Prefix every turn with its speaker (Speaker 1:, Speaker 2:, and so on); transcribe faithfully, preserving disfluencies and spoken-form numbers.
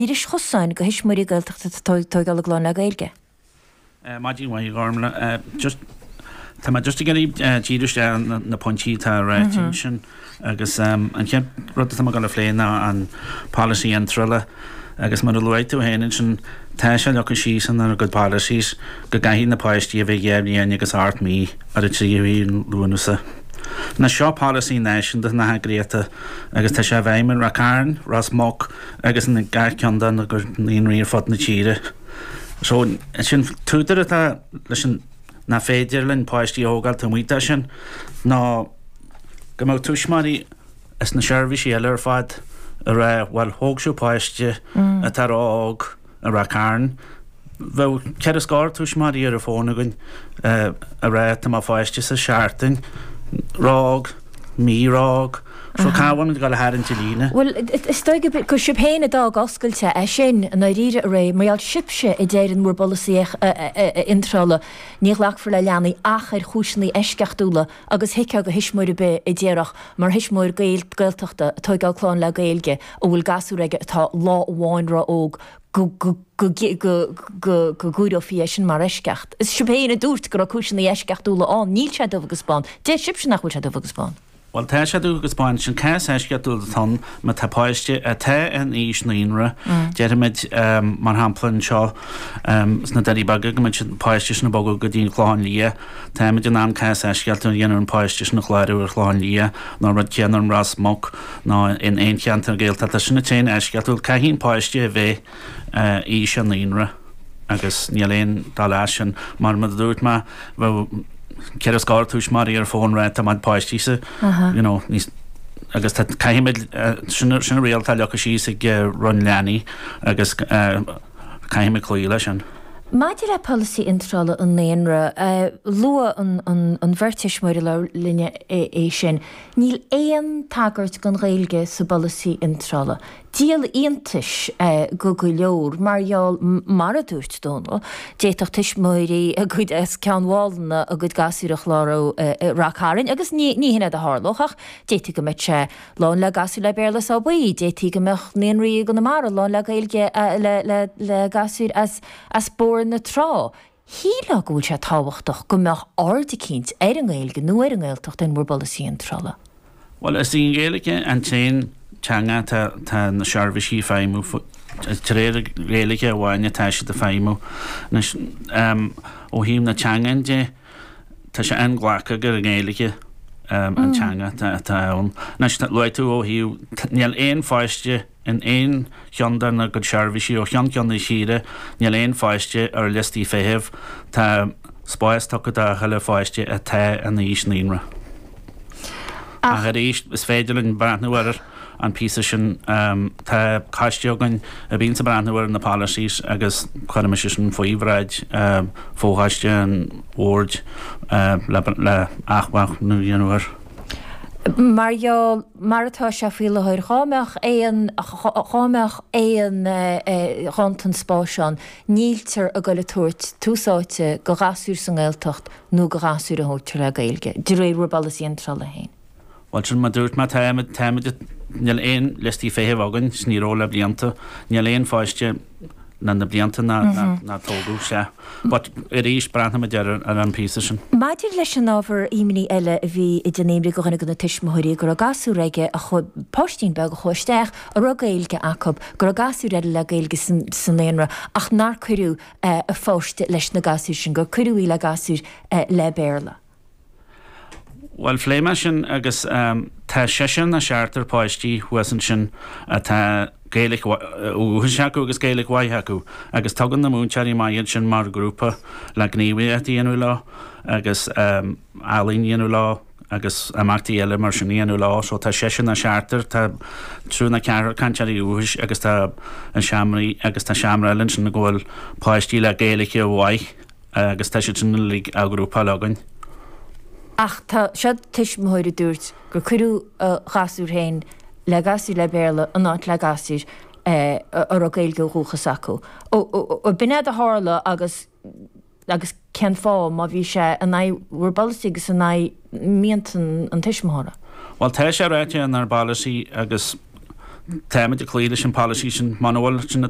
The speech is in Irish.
Speaker 1: Iris chosáin go thuismitheoirí Gaeltachta atá ag tógáil a gclann le Gaeilge.
Speaker 2: Maidin mhaith, Gormlaith. Just tá mé just ag iarraidh díriú isteach na, na pointí atá ráite ansin agus um, an chéad rud atá mé ag dul a phlé ná an polasaí iontrála agus mar a luaigh tú féin ansin tá sé leagtha síos inár gcuid policies go gcaithfidh na páistí a bheith dhá bhliain agus ocht mí ar an tríú Lúnasa. Anois seo polasaí náisiúnta na heagraíochta agus tá sé i bhfeidhm i Ráth Cairn, Ros Muc agus in gach ceann de na naíonraí ar fud na tíre. So sin t-údar atá leis an nach féidir linn páistí a thógáil taobh amuigh de sin ná go mbeadh tuismitheoirí is na seirbhísí eile ar fad ag rá bhuel thóg sibh páiste atá ró-óg i Ráth Cairn. Bheadh ceithre scór tuismitheoirí ar an bhfón againn ag rá tá mo pháiste sa seachtain ró-óg, mí ró-óg. So cá bhfuil muid ag dul a tharraingt an líne?
Speaker 1: Bhuel, is dóigh gur sibh féin a d'fhág oscailte é sin, i ndáiríre, a Ray, mar gheall sibhse a deir in bhur bpolasaí iontrála, ní ghlacfar le leanaí ach ar chúiseanna eisceachtúla agus thuigfeá do thuismitheoir ar bith a déarfadh, mar thuismitheoir Gaeltachta ag tógáil clann le Gaeilge a bhfuil gasúr aige atá lá amháin ró-óg, go gcomhaireofaí é sin mar eisceacht. Is sibh féin a dúirt go raibh cúiseanna eisceachtúla ann. Níl sé dubh agus bán. Deir sibhse nach bhfuil sé dubh agus bán.
Speaker 2: Bhuel, tá sé dubh agus bán. Sin cás eisceachtúil atá ann má tá páiste atá in aois naíonra, déarfaimid, mar shampla anseo sna Doirí Beaga go mbeidh an páiste sin ag bogadh go dtí an Clochán Liath, táimid in ann cás eisceachtúil a dhéanamh an páiste sin a chlárú ar Chlochán Liath nó an rud céanna in Ros Muc nó in aon cheantar Gaeltachta. Sin an t-aon eisceachtúil. Caithfidh an páiste a bheith aois an naíonra agus níl aon dul as sin. Mar a dúirt mé, bheadh ceithre scór tuismitheoirí ar fón ag rá tá mo pháistí sa, you know, níos agus tá caithfimid sin sin an riail atá leagtha síos ag Roinn Leanaí agus caithfimid cloí leis sin.
Speaker 1: Maidir le polasaí iontrála an naíonra, luaigh an bheirt tuismitheoirí a labhair linn é sin. Níl aon tagairt don Ghaeilge sa bpolasaí iontrála. Díol iontais go go leor mar gheall, mar a dúirt Dónal, d'fhéadfadh tuismitheoirí a gcuid as Ceann Mhálanna a gcuid gasúir a chlárú i Rath Cairn agus ní hin é a tharlódh ach d'fhéadfaí go mbeadh sé lán le gasúir le Béarla is abair, d'fhéadfaí go mbeadh naíonraí i gConamara lán le Gaeilge le gasúir as As Bóthar na Trá, shílfeá go bhfuil sé tábhachtach go mbeadh aird eicínt ar an nGaeilge nó ar an nGaeltacht in bhur bpolasaí iontrála.
Speaker 2: Bhuel, is í an Ghaeilge an t-aon teanga atá tá na seirbhísí ag feidhmiú, de réir Gaeilge amháin atá siad ag feidhmiú. Anois, ó thaobh na teangan de, tá sé inghlactha gur an Ghaeilge an teanga atá ann. Anois, luaigh tú ó thaobh, níl aon pháiste, In aon cheann dár gcuid seirbhísí ó cheann ceann na tíre, níl aon pháiste ar liostaí feithimh. Tá spás tugtha do chuile pháiste atá in aois naíonra. Ach arís, is féidir linn breathnú ar an píosa sin. Tá coiste againn a bhíonns ag breathnú ar na policies agus cuirfidh mise sin faoi bhráid fho-choiste an bhoird le athbhreithniú a dhéanamh air.
Speaker 1: Mar gheall, mar atá sé faoi láthair, dhá mbeadh aon, dhá mbeadh aon ghanntan spáis ann, níltear ag goil ag tabhairt tús áite go ghasúir sa nGaeltacht nó go ghasúir a thógtar le Gaeilge, de réir bhur bpolasaí iontrála féin.
Speaker 2: Bhuel, sin mar a dúirt mé, táimid, táimid, níl aon liostaí feithimh againn, 's ní raibh le blianta, níl aon pháiste, ná na blianta ná tógadh, sea. But arís, breathnóimid ar an phíosa sin.
Speaker 1: Maidir leis an ábhar imní eile a bhí ag déanamh imní go dhuine de na tuismitheoirí, go raibh gasúr aige, a chuaigh, páistín beag a chuaigh isteach, a raibh Gaeilge acu, go raibh gasúir eile le Gaeilge sa naíonra ach nár cuireadh a pháiste leis na gasúir sin, gur cuireadh í le gasúir le Béarla.
Speaker 2: Bhuel, phléigh mé sin agus tá seisear nó seachtar páistí thuas ansin atá Gaeilge dhúchais acu agus Gaeilge mhaith acu agus tugann na múinteoirí amach iad sin mar ghrúpa le gníomhaíocht a dhéanamh leo agus ealaín a dhéanamh leo agus imeachtaí eile mar sin a dhéanamh leo. So tá seisear nó seachtar, tá triúr nó ceathrar cainteoirí dúchais agus tá an seomraí agus tá seomra eile ansin go bhfuil páistí le Gaeilge mhaith agus tá siad sin uilig á ghrúpáil againn.
Speaker 1: Ach tá, seo tuismitheoir a dúirt gur cuireadh a ghasúr féin le gasúir le Béarla in áit le gasúir a raibh Gaeilge ó dhúchas acu. Ó, b'in é a tharla agus agus cén fáth má bhí sé in aghaidh bhur bpolasaí agus in aghaidh mianta an tuismitheora?
Speaker 2: Bhuel, tá sé ráite inár bpolasaí agus Táimid ag cloí leis an policy sin muna bhfuil sin na